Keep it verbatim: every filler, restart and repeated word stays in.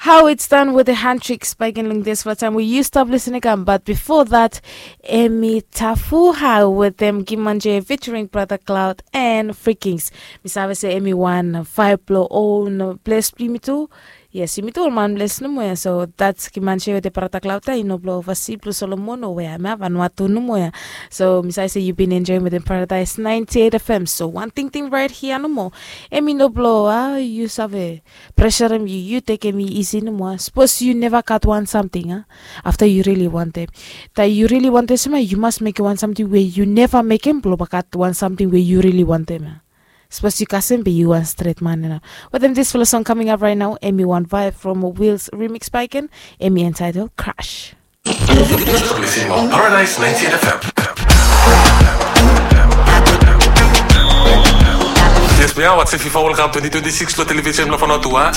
How it's done with the hand tricks back in Lungdes for the time we used to listen again. But before that, Emi Tafuha with them Gimanje featuring Brother Cloud and Freakings. Misave se Emi one five blow own bless me too. Yes, yumi tu ol man bless nomo ya. So that's Gimanje with the Brother Cloud. I know blow oversee blue Solomon o where I'm having what to nomo ya. So misave se you been enjoying with the Paradise ninety-eight F M. So one thing thing right here nomo. Emi no blow ah, you save pressure him, you you take him easy no more. Suppose you never cut one something, huh? After you really want them. That you really want this man, you must make one something where you never make him blow back at one something where you really want them. Huh? Suppose you cousin be you one straight man enough. But then this fellow song coming up right now, Emi one vibe from Will's remix bike and Emi entitled Crash. Paradise ninety-eight F M. Yes, we are watching FIFA World Cup twenty twenty-six lo television lo Fanotua.